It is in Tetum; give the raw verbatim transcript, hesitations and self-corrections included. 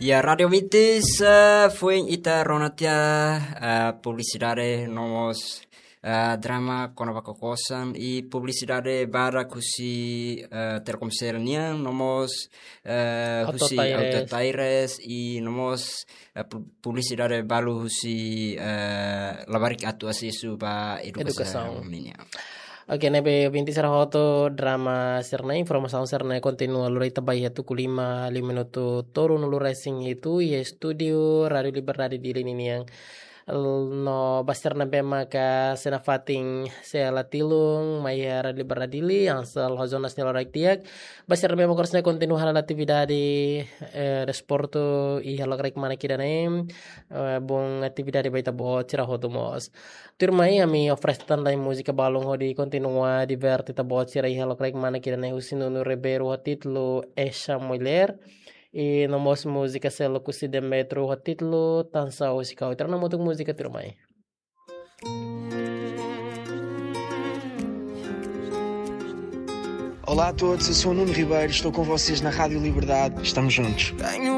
Ya, Rádio Vintis, eh, foin ita rona tiha, eh, publisidade no mós, eh, drama kona-ba kokosan i publisidade badak husi, eh, Telkomsel nian, no mós, eh, Auto husi Taires. Auto Taires i no mós, eh, pu-, publisidade balu husi, eh, labarik atu asesu ba edukasaun. Edukasaun. Nian. Oke, ne'ebé ouvinte sira hotu, drama sira-ne'e, informasaun sira-ne'e kontinua lori ita ba iha tuku lima, lima minutu tolunulu resin hitu, iha estúdiu Rádio Liberdade Dili ninian. No ba sira ne'ebé maka sei nafatin sei la tilun mai iha Rádio Liberdade Dili, hanesan loos ona sira lorok di'ak. Ba sira ne'ebé maka sei kontinua hala'o atividade, eh, desportu iha lokraik manak ida-ne'e, eh, bom atividade ba ita-boot sira hotu mós. Tuirmai, ami oferese tan lai múzika balun hodi kontinua diverte ita-boot sira iha lokraik manak ida-ne'e, husi Nuno Ribeiro ho títulu Essa Mulher. I no mós múzika seluk husi Demetro ho títulu Tansá Husi Kau. Ita rona hamutuk múzika tuirmai. Olá a todos, eu sou o Nuno Ribeiro, estou com vocês na Rádio Liberdade. Estamos juntos. Tenho